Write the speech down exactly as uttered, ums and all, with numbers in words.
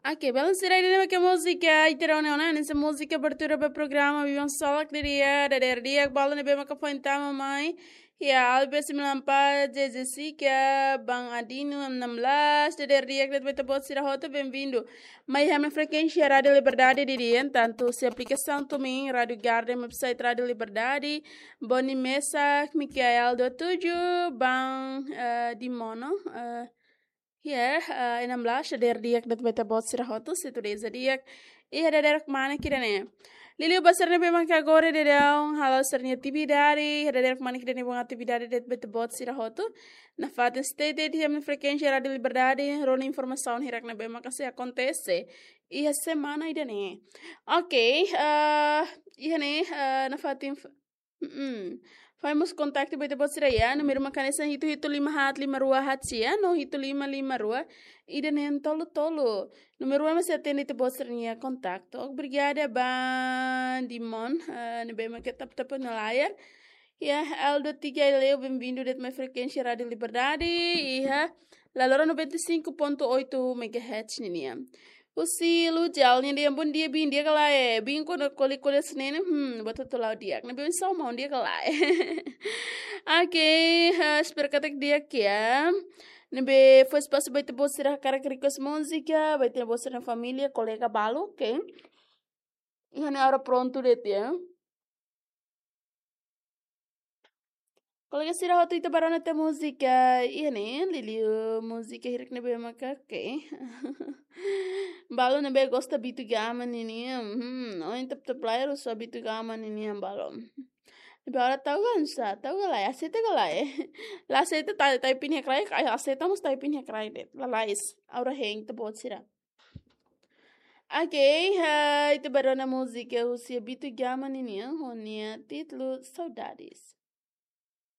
Oke, belun sira, ida-ne'e mak múzika ita rona ona, hanesan múzika abertura ba programa Biban Solak di'ak, dadeer di'ak ba balu ne'ebé maka foin tama mai. Ya, Alves Milampa, Jessica, Bang Adino, enam belas, dadeer di'ak de'it ba ita-boot sira hotu, bem-vindo. Mai iha frekuénsia Rádio Liberdade di'ak, tantu husi aplikasaun TuneIn, Rádio Garden, website Rádio Liberdade, Boni Mesak, Mikael dua tujuh, Bang, eh, Dimono, eh, ya, eh, enam belas, dadeer di'ak de'it ba ita-boot sira hotu, se tudo di'ak. Iha dadeer kmanek ida-ne'e. Liuliu ba sira ne'ebé maka agora daudaun hala'o sira-nia atividade, iha dadeer kmanek ida-ne'e bom atividade de'it ba ita-boot sira hotu. Nafatin stay tuned iha frekuénsia Rádio Liberdade, rona informasaun hirak ne'ebé maka sei akontese iha semana ida-ne'e. Oke, eh, iha ne'e, eh, nafatin f-, mm, fai mós kontaktu ba ita-boot sira ya, númeru mak hanesan hitu hitu lima haat lima rua haat sia, no hitu lima lima rua, ida neen tolu tolu. Númeru mak sei atende ita-boot sira-nia kontaktu. Obrigada, Bang Dimon, eh, ne'ebé maka tap-tap ona layar. Ya, Aldo Tiga Leo, bem-vindo de'it mai frekuénsia Rádio Liberdade, iha laloran noventa e cinco ponto oito megahertz ninian. Husi Lujal, nia dehan bom dia, bin, di'ak ka lae? Bin, kuandu kole-kole senen, hmm, buat hotu la'o di'ak. Ne'ebé bin só mau di'ak ka lae? Oke, eh, espera katak di'ak ya. Ne'ebé fó espasu ba ita-boot sira hakarak request múzika, ba ita-boot sira família, kolega balu, oke? Iha ne'e agora prontu de'it ya. Kolega sira hotu, ita bá rona tiha múzika iha ne'e, liuliu múzika hirak ne'ebé maka, oke. Balu ne'ebé gosta Bitu Gama ninian, hmm, ohin tap-tap layar husu Bitu Gama ninian balu. Ne'ebé agora tau ka lae, tau ka lae, aseita ka lae? La aseita, ta-, type iha kraik, ai, aseita mós type iha kraik de'it. Lalais, agora hein ita-boot sira. Oke, eh, ita bá rona múzika husi Bitu Gama ninian, ho nia títulu Saudades.